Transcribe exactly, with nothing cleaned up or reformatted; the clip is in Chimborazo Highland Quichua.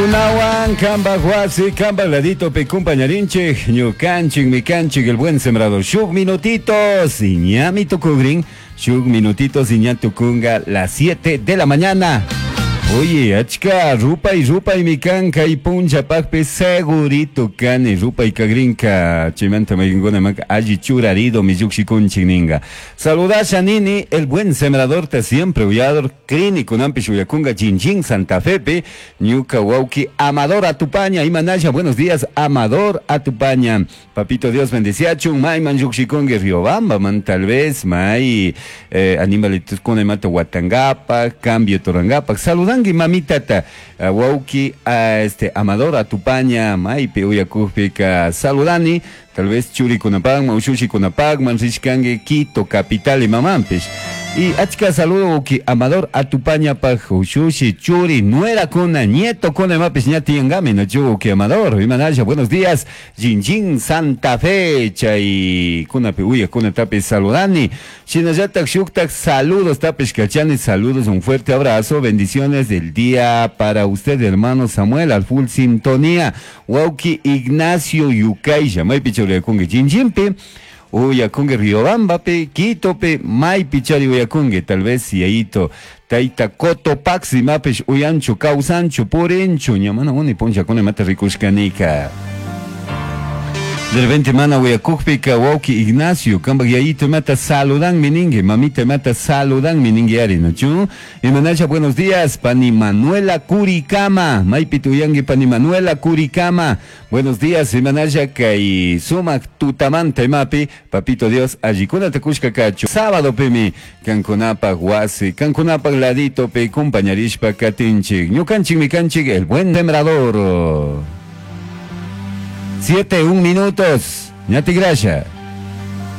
Cancunawan, Camba Huasi, Camba Ladito, pe compañarinche, Ñucanchik, Micanchik, el buen sembrador. Shuk minutitos, ñami tukugrin, shuk minutitos, ña tukunga, las siete de la mañana. Oye, achka, rupay, rupay, mikan, kay puncha pakpi, segurito kani, rupay kagrinka, chimanta mayguna mak, alli churarido, mi ninga. Saludasha nini, el buen sembrador te siempre uyador, clínico nampi shuyakunga, Chinchín, Santa Fepe, ñuka wauki, Amador Atupaña, imanasha, buenos días, Amador Atupaña. Papito Dios bendeciachun, may man llukshikungi Riobamba, man tal vez, may, eh, animalitos con mata Huatangapa, cambio Torangapa, saludangi mamitata, wauki, a este, Amador Atupaña, maypi uyakujpika, saludani, tal vez churikunapakman, ushushikunapak, rishkangi Quito, capital y mamampish. Y achka saludo wauki Amador Atupaña paj ushushi, churi, nuera kuna, nieto kuna, mapis ña tiyangami, no chu wauki Amador, imanasha, buenos días, Jinjin Santa Fe, chay kunapi uya kuna tapi saludani, shinallatak shuktak saludos tapish kachani, saludos, un fuerte abrazo, bendiciones del día para usted, hermano Samuel, al full sintonía, wauki Ignacio Yucaisha, maypi churiakungi Jinjinpi, uyakungi Riobambapi, Quitopi, maypi chari uyakungi, tal vez yayito, taita Cotopaxi mapish uyanchu, kawsanchu, purinchu, ñamana uni punchakuna imata rikushkanika. De repente mana uyakukpika wauki Ignacio, kambak yayito imata saludan miningue, mamita imata saludan miningue ari, ¿no chu? Imanasha, buenos días, pani Manuela Curicama, maypi tuyangi pani Manuela Curicama, buenos días, imanasha kay sumak tutamanta imapi, papito Dios, allikuna takushka kachu, sábado pimi, kankunapak wasi, kankunapak ladito pe, compañarishpa katinchik, ñukanchik mikanchik, el buen sembrador. Siete, un minutos. Ñati gracias.